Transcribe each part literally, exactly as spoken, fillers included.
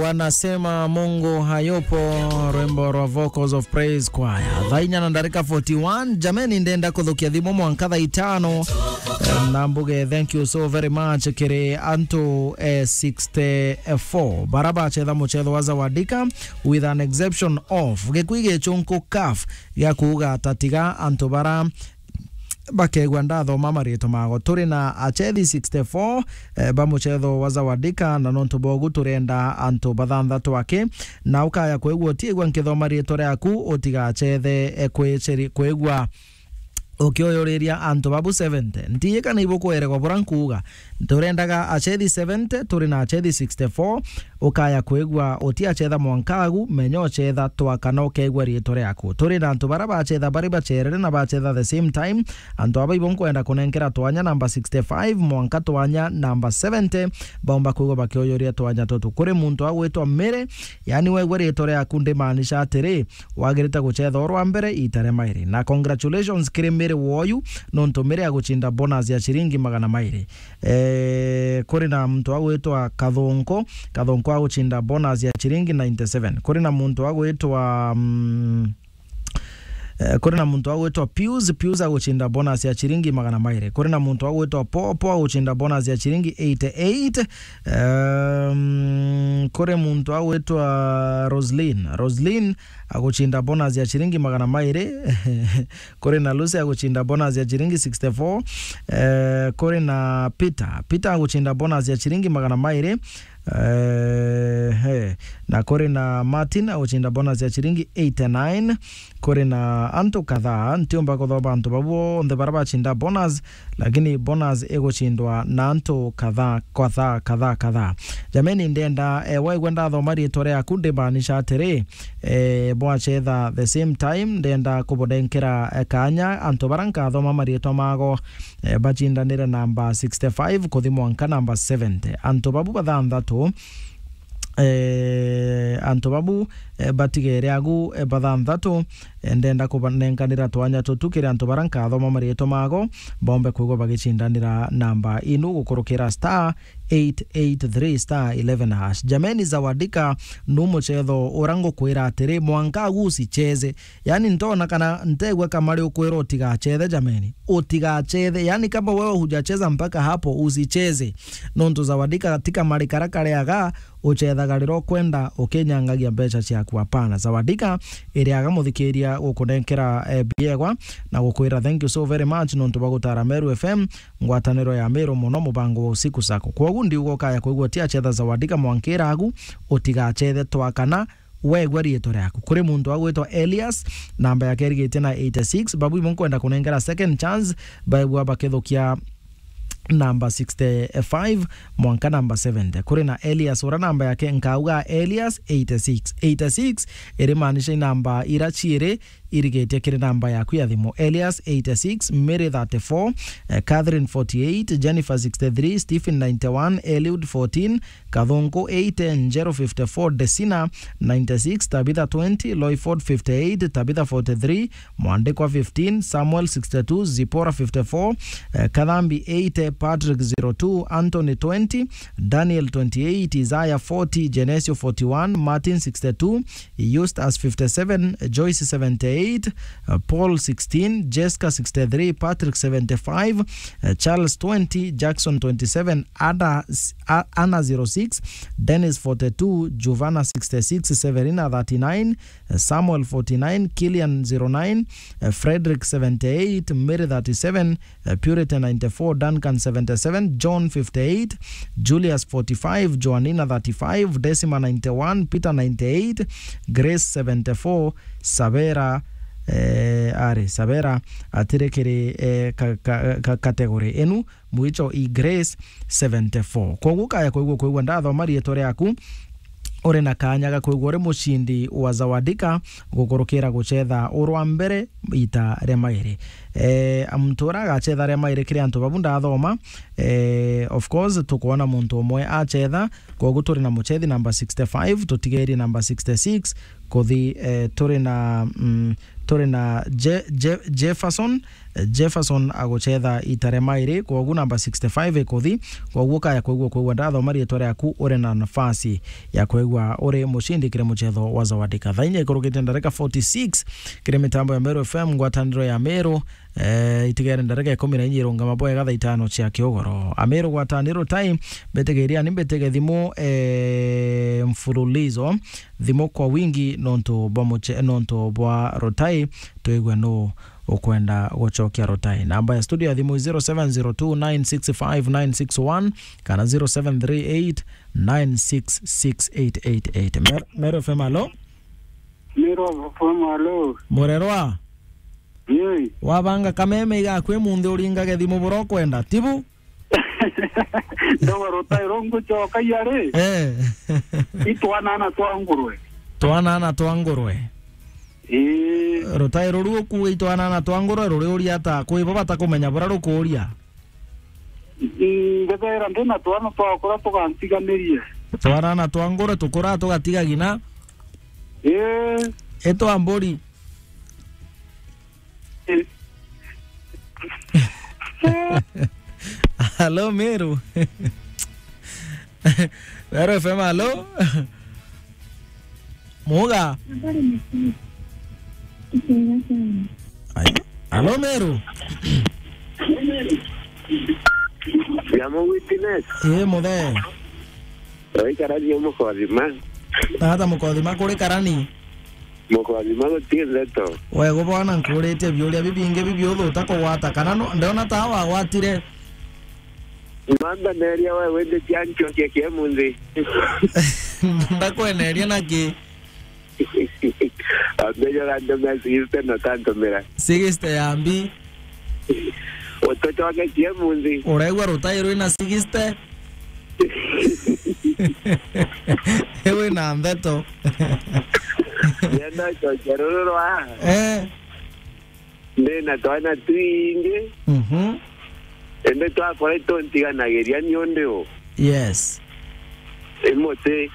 Wanasema Mungu hayupo, rwimbo rwa Vocals of Praise Choir. Thaa inya na ndarika forty-one, jameni, ndenda kuthukia thimu mwanka thaa itano. Eh, na mbuge, thank you so very much kiri antu, eh, sixty-four bara bachetha muchetho wa Zawadika, with an exception of Gikui Gichunku CAF gia kuuga ati tiga antu bara bakegwa ndathoma maritwa mago. Turi na achethi sixty-four, eh, ba muchetho wa Zawadika, na nontu bogu turenda antu bathanthatu aki, na ukaya kwigua utiigua nkithoma ritwa riaku, utigachethe, eh, kwiciri-, kwigua ukioyuriria antu babu seventy. Ntiye kana ibukweregwa bura nkuuga. Turendaga achethi seventy, turi na achethi sixty-four, ukaya kwigua utiachetha mwanka agu, menya uchetha twa kana ukegua riitwa riaku. Turi na antu bara bachetha bari bacherere na bachetha the same time. Antu aba ibo nkwenda kunenkera twanya namba sixty-five mwanka twanya namba seventy, baumba kwigua bakioyuria twanya tutu. Kuri muntu agwitwa Mary, yani wegua riitwa riaku ndimaanisha atiri, wagirite guchetha urwa mbere iita ria mairi. Na congratulations kiri Mary woyu, nontu Mary aguchinda bonus ya ciringi magana mairi. Eh, kuri na muntu agwitwa Kathunku, Kathunku aguchinda bonus ya ciringi ninety-seven. Kuri na muntu agwitwa, mm, eh, kuri na muntu agwitwa Pius, Pius aguchinda bonus ya ciringi magana mairi. Kuri na muntu agwitwa Popo aguchinda bonus ya ciringi eighty-eight. Ehm, kuri muntu agwitwa Roslyn, Roslyn aguchinda bonus ya ciringi magana mairi. Kuri na Lucy aguchinda bonus ya ciringi sixty-four. Eh, kuri na Peter, Peter aguchinda bonus ya ciringi magana mairi. Eh, he. Na kuri na Martin aguchinda bonus ya ciringi eighty-nine. Kuri na antu kadhaa, ntiumba kuthoma antu bau bonthe bara bachinda bonus, lakini bonus iguchindwa na antu kadhaa, kadhaa, kadhaa, kadhaa. Jameni, ndenda, eh, waigua ndathoma riitwa riaku, ndimaanisha atiri, eh, bwachetha the same time, ndenda kubunenkera, eh, kanya antu bara nkathoma mariitwa mago, eh, bachindanire namba sixty-five kuthi mwanka namba seventy. Antu babu bathanthatu, eh, antu babu, eh, batigere agu, eh, bathanthatu, eh, ndenda kubanenkanira twanya tutu kiri antu bara nkathoma mariitwa mago, bombe kwigua bagicindanira namba inu gukurukira star eight eight three star eleven hash. Jameni, Zawadika nu muchetho ura ngukwira atiri, mwanka agu usicheze. Yani, ntona kana ntegua kamari ukwira utigachethe, jameni. Utigachethe. Yani, kama wewe hujacheza mpaka hapo, usicheze. Nontu Zawadika ti kamari kara kareaga uchethaga riria ukwenda ukinyangagia mbeca ciaku. Hapana. Zawadika iriaga muthikiria gukunenkera, eh, biegwa na gukwira thank you so very much nontu bwa gutara Meru F M, ngwataniro ya Meru muno, mubango wa usiku sako. Kwogu ndiuga ukaya kwigua ti achetha Zawadika mwankira agu, utigachethe twakana wegua riitwa riaku. Kuri muntu agwitwa Elias, namba yake irigitie na eighty-six, babu ibo nkwenda kunengera second chance, baigua bakithukia namba sixty-five mwanka namba seventy. Kuri na Elias, ura namba yake nkauga Elias eighty-six. Eighty-six irimaanisha i namba ira ciiri irigitie kiri namba yaku ya thimu. Elias eighty-six, Mary thirty-four, eh, Catherine forty-eight, Jennifer sixty-three, Stephen ninety-one, Eliud fourteen, Kathunku eighty, Njeru fifty-four, Desina ninety-six, Tabitha twenty, Loyford fifty-eight, Tabitha forty-three, Mwandikwa fifteen, Samuel sixty-two, Zipporah fifty-four, eh, Kathambi eighty, Patrick zero two, Anthony twenty, Daniel twenty-eight, Isaiah forty, Genesio forty-one, Martin sixty-two, Eustace fifty-seven, Joyce seventy-eight, eh, Paul sixteen, Jessica sixty-three, Patrick seventy-five, eh, Charles twenty, Jackson twenty-seven, Ada, A-, Anna zero six, Dennis forty-two, Giovanna sixty-six, Severina thirty-nine, eh, Samuel forty-nine, Killian zero nine, eh, Frederick seventy-eight, Mary thirty-seven, eh, Purity ninety-four, Duncan seventy-seven, John fifty-eight, Julius forty-five, Joanina thirty-five, Decima ninety-one, Peter ninety-eight, Grace seventy-four, Savera, eh, ari, Savera atiri kiri, eh, ka-, ka-, ka-, category inu, mwicho i Grace seventy-four. Kwoguo kaya kwigua, kwigua ndathoma riitwa riaku, uri na kanya ga kwigua uri mucindi wa Zawadika gukurukira guchetha urwa mbere ita ria mairi. Eh, muntu uria agachetha ria mairi kiri antu babu ndathoma, eh, of course, tukwona muntu umwe achetha, kwoguo turi na muchethi namba sixty-five, tutigerie namba sixty-six, kuthi, eh, turi na, mm, turi na Je-, Je-, Jefferson, Jefferson agucetha ita ria mairi, kwogu namba sixty-five ikuthi, kwogu ukaya kwigua kwigua ndathoma riitwa riaku, uri na nafasi ya kwigua uri mucindi kiri mucetho wa Zawadi Kadha. Inya ikurukite ndarika forty-six kiri mitambo ya Meru F M, ngwataniro ya Meru, eh, itigere ndarika ikumi na inya irungama bwega thaa itano cia kiugoro. Ameru gwataniro time, mbitigiria ni mbitige thimu, eh, mfululizo, thimu kwa wingi nontu bwa muche-, nontu bwa Rutai, twigue nu ukwenda gucokia Rutai. Namba ya studio ya thimu zero seven zero two nine six five nine six one kana zero seven three eight nine six six eight eight eight. Mer-, Meru F M, alo? Meru F M, alo? Murerwa? Yei. Wabanga kameme igaku imunthi uringage thimu bura ukwenda, tibu? Ndogo Rutai rungucoka iari? Eh. Itwanana twa ngurwe. Twanana twa ngurwe. Ii. Rutai ruru ukuuga itwanana twa ngurwe ruri uria ata? Kwi bo batakumenya bura rukuuria? Mm, ngetheera ndi na twana twakura tugantiganirie. Twanana twa ngurwe tukura tugatiga gina? Ii. Itwa mburi. Alo, Meru. Meru F M, alo? Muga. Ai. Alo, Meru. Yamo witness. Ii, muthe. Oikarania mukothima. Tata mukothima kuri karani. Mukothima guti ndeto. Wego bwana, nkuritie biuria bibingi bibiuthu utakugwata, kana no, ndiona ta wagwatire. Mamba neria we windi cia nchokia kia munthi. Ndakweneria na ki? Ambejo gantumira sixty na utantumira. Sixty ya mbi. Utucoketie munthi. Uraigua Rutai rwina sixty? Ewe na ndeto. Ndienda cokia ruru rwa. Eh. Ndi na twana twingi. Mhm. Indi twakora ituntiganagiria ni undi u? Yes. I muti.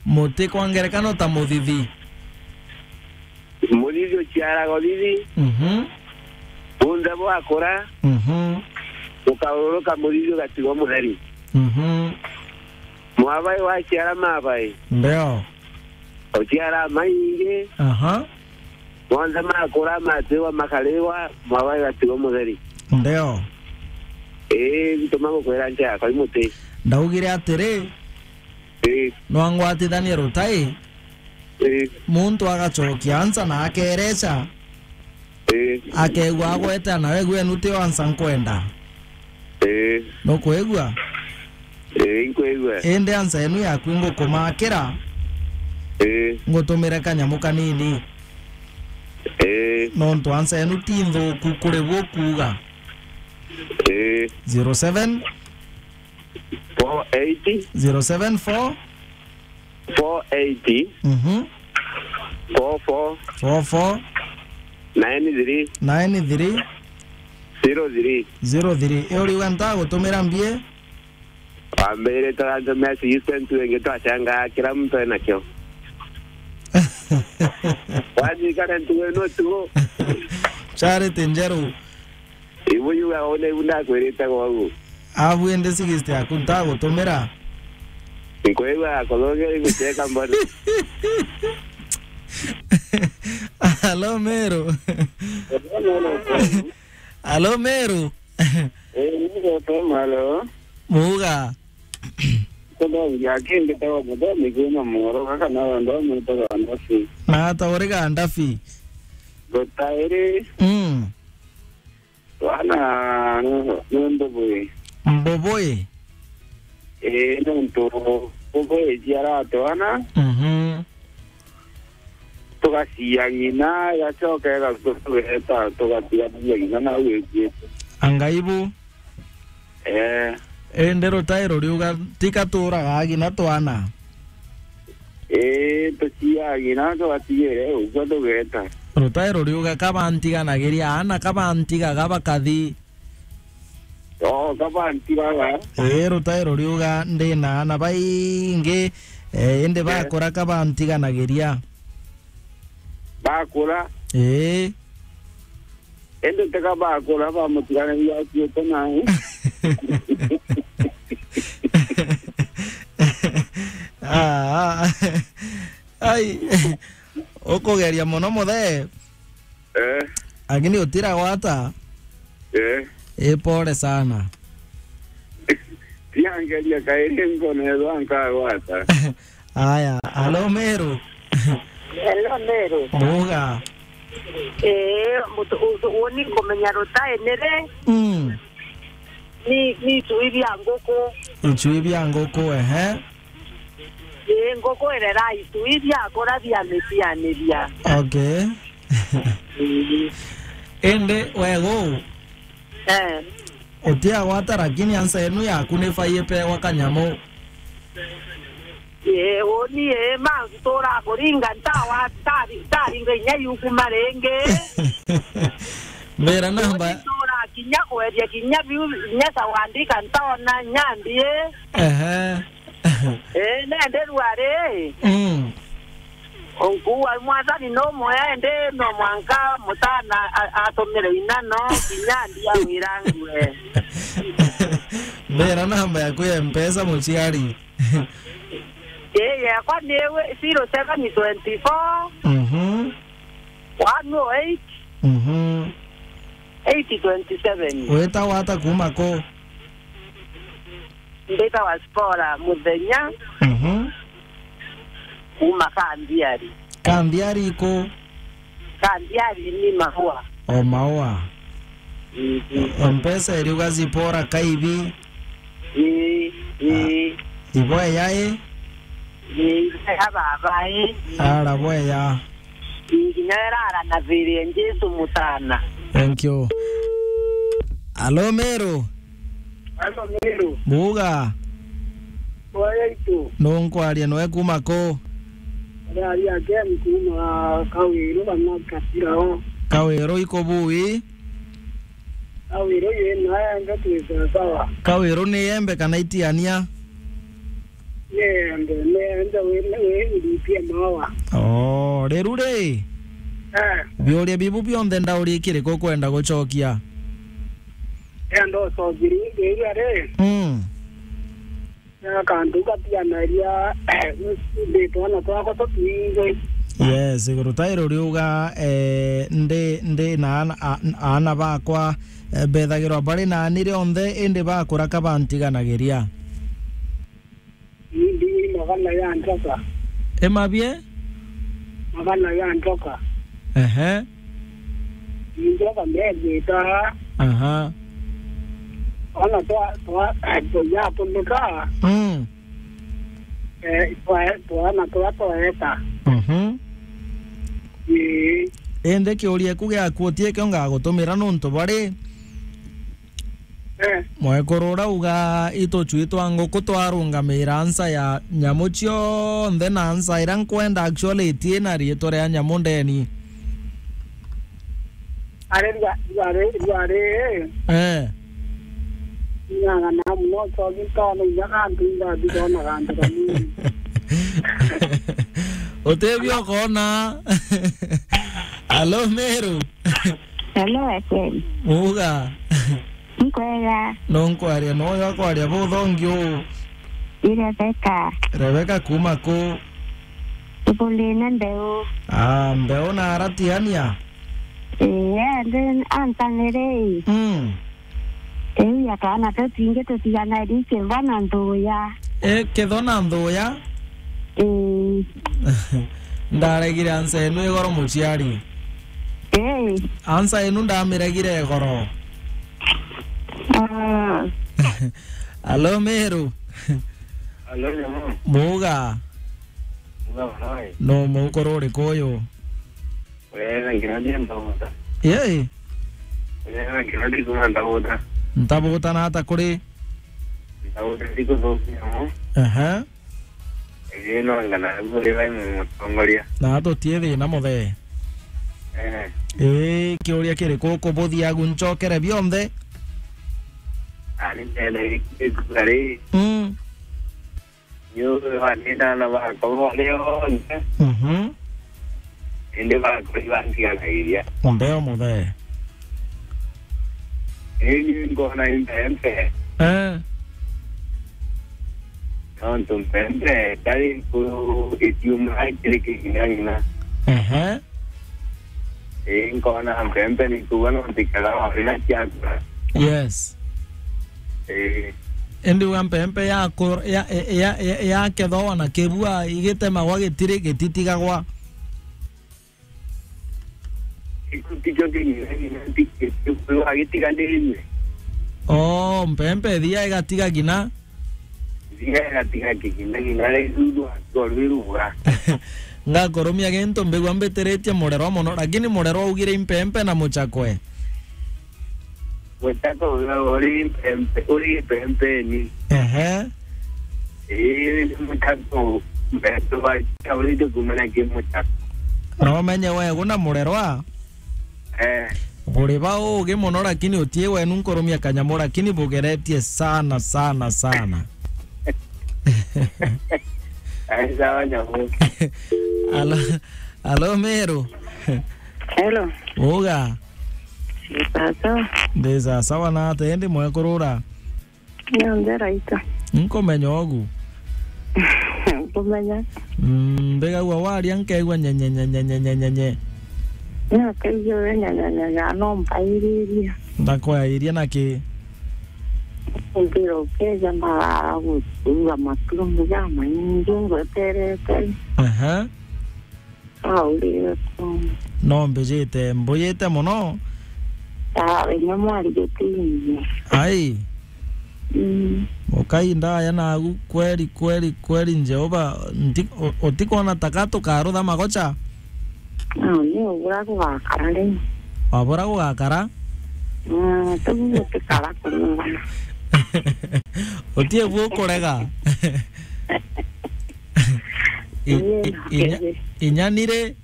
Muti kwa ngerekano ta muthithi. Muthithi uciaraga uthithi. Mhm. Bunthe bwakura. Mhm. Ukaururuka muthithi ugatigwa mutheri. Mhm. Mwabai waciara mabai. Ndio. Uciara maingi. Aha. Monthe makura matigwa makariwa, mwabai ugatigwa mutheri. Ndio. Ii, ntuma gukwira ncha yakwa i muti. Ndaugire atiri, Ii. Nwangwatithanie Rutai, Ii. Muntu agacokia ansa na akereca, Ii. Akegua agwete, na wegua enu tio ansa nkwenda. Ii. Nukwigua? Ii, nkwigua. Indi ansa enu yaku ngukumakira, Ii. Ngutumire kanyamu kanini. Ii. Nontu ansa enu ti nthuku kuri bu kuuga. Ii. Zero seven four eight. Zero seven four. Four eight. Mhm. Four four. Four four. Nine three. Nine three. Zero three. Zero three. Iyo riuga ntagutumira mbie? Wambirite urantumira assistant wengi twachangaa kila mtu enakio. Wathikana ntugu ino tu. Charity Njeru. Ibu yuga one ibu ndakwirite gwagu. Abu indi sixty yaku ntagutumira. Nkwigua yakuthongera igucheka mbona. Alo, Meru. Alo, Meru. Eh, niko tu malo. Muga. Kuthongia kingi tawa muthomi kwina moro kaka na wendo mwitaga ndafi. Na ata uri ga ndafi? Gutairi. Mm. Twana ni mbubui. Mbubui? Ii, nontu mbubui ciara twana. Mhm. Tugacia ng'ina, igacoka igatuga tugeta, tugatiga ng'ina nau ikuite. Anga ibu? Ee. Indi rutai ruriuga, tika turaga ng'ina twana? Ii, tuciaga ng'ina, tugatigire ugwo tugeta. Rutai ruriuga, kabantiganagiria aana, kabantigaga bakathi. Oo, kabantigaga. Ii, rutai ruriuga, ndi na aana baingi, ee, indi bakura kabantiganagiria. Bakura? Ii. Indi tiga bakura bamutiganagia akuite nae. Ah, ah. Ai, ukugeria muno muthe. Eh. Lakini utiragwata. Eh. Ipole sana. Tiangeria kairi nkonethwa nkagwata. Aya, alo Meru. Hello, Meru. Muga. Eh, mutu usu uni kumenya rutai nire. Mm. Ni, ni itui bia nguku. Itui bia nguku, ehe. Ii, nguku irera itui biakura biamitianiria. Okay. Ii. Indi wegu, eh, utiagwata, lakini ansa inu yaku ni fai ipegwa kanyamu. Ii, uni ii, mantu tura kuringa ntawa, ntari-, ntaringa inya yukuma ringi. Mbira namba. Uni tura kinya kweria kinya biu, inya sawandika ntaona nyandi ii. Ehe. Eh, nende rwari. Mm. Onkuwa mwathani no mwe, indi no mwanka mutana a-, atumire inano, kinya ndia wirangue. Mbira namba yaku ya Mpesa, muciari. Eh, yakwa ni we-, zero seven twenty four, mhm, one oh eight, mhm, eight twenty seven. Witagwa ata kuma ku? Mbitagwa Spora Muthenya. Mhm. Kuma Kambiari. Kambiari iku? Kambiari ni Maua. O Maua. Mhm. Mpesa iriuga Zipora Kaibi. Ii, ii. Ibo eya i? Ii, ibo eya baba i. Ara bo eya. Ii, kinya erara na thiri ya Jesu mutana. Thank you. Alo, Meru. Alo, Meru. Buga. Oya itu. Nunkwaria nwe kuma ku? Ari aria Ken kuma Kawiru kana Kasirao. Kawiru iko bui? Kawiru yena ende twi sawa sawa. Kawiru ni embe kana itiania? Ni embe, ni embe wi, wi ndipie mawa. Oh, riru ri? Eh. Biuria bibu bionthe ndauria ikiriku ukwenda gucokia? Enda ucokirie iria ri? Mm. Akantu gatianaria, ndi twana twakwa tutwingwi. Yes, iguru ta iru riuga, eh, ndi, ndi na ana, a-, aana bakwa, eh, bethagirwa bari nani rionthe, indi bakura kabantiganagiria. Ndi magana ya njoka. Imabie? Magana ya njoka. Ehe. Njoka methita. Aha. Ona twa, twa, tuyatumika. Mm. Eh, twa, twana twa twaeta. Mhm. Ii. Indi kiuria ku giaku utiekio ngagutumira nuntu bari. Eh. Mwekuru urauga itucui twa nguku twarungamira nsa ya nyamu cionthe, na nsa iria nkwenda actually itina riitwa ria nyamu ndeni. Ari rwa-, rwari, rwari, eh. Eh. Nyanga na muno, cogi ntona inya kantu ingathi kona kantu kanini. Utebia ukona. Alo, Meru. Hello, F M. Muga. Nkwega. No nkwaria, no yo kwaria buthongi u. Ni Rebecca. Rebecca kuma ku? Tubulina Mbeu. Ah, Mbeu na aratiania? Ii, ende antanire. Mm. Ii, akana tutingi tutigana riki mbona nthuya. E, ketho na nthuya? Ii. Ndaregire ansa enu igoro muciari. Ii. Ansa enu ndamiregire igoro. Ah. Alo, Meru. Alo, Nyamo. Muga. Muga, wai. No mukuru uriku uyu? Wega, nginya ndi Ntauta. Yei. Wega, nginya ndi kuma Ntauta. Ntauta na ata kuri? Ntauta ndi kuthukia mo. Aha. Ii, no ngana buri bai mutongoria. Na tutie thina muthee. Eh. Ii, kiuria kiriku ukubuthia agu ncokere bionthe? Ani ndenda gari. Mm. Yu, ani ndana bakwa bari onthe. Mhm. Indi bakwa ibantiganairia. Mbeo muthee. Ii, ni nkona i mpempe. Eh. Nontu mpempe tari nkuru itiuma kiri kigina ng'ina. Ehe. Ii, nkona mpempe ni kuuga no ntikega wabina ciakura. Yes. Ii. Indi wa mpempe ya ku-, ya, ya, ya, ya kethwa na kibua igitemagwa gitiri gititigagwa. Gikuti kio king'ina ng'ina nti-, gitiganirue. Oh, mpempe ithia igatiga ng'ina. Ithia igatiga kigina ng'ina, riu rwa, rwa rwi ruga. Ngakurumia gintu mbigua mbitiritie murerwa mono, lakini murerwa augire impempe na muchakwe. Muchakwe uri impempe, uri impempeni. Ehe. Ii, ni muchakwe, mbetu ba, kaurite kumenya ki muchakwe. No menye we guna murerwa? Eh. Buri ba ugi mono, lakini utii wenu nkurumia kanyamu, lakini bugeretie sana, sana, sana. Ai, sawa, nyamu. Alo, alo, Meru. Hello. Uga. Sasa. Ndi sawa na ate, ndi mwekurura. Nyonthe raita. Nkumenya ogu. Nkumenya. Mm, mbigagua waria nkeigua nyenye, nyenye, nyenye, nyenye. Nakaigua we nyenye, nyenye, no mpairirie. Ndakwairia na ki? Mpira ukeja mbagara gutuga matumu jamaingi ngweterete. Aha. Aurire tu. No mbijite, mbujite mono. Ah, inya mwari gutinyie. Ai. Mm. Ukai ndaya nagu kweri, kweri, kweri, Jehova, nti-, u-, utikwona taka tukarutha magocha? Ah, ni ubura gugakara ri. Wabura gugakara? Ah, tugu gutikara kuringana. Utie bu ukurega. I-, Ii, i-, inya-, nakiri. Inya nire.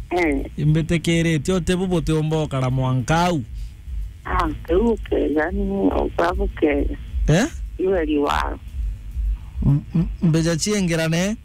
Eh. Imbitikiritie uti bu butiumba ukara mwanka au. Ah, kiu ukega ni ukwa bukega. Eh? Iwe riwaro. M-, m-, mbeja ciengirane?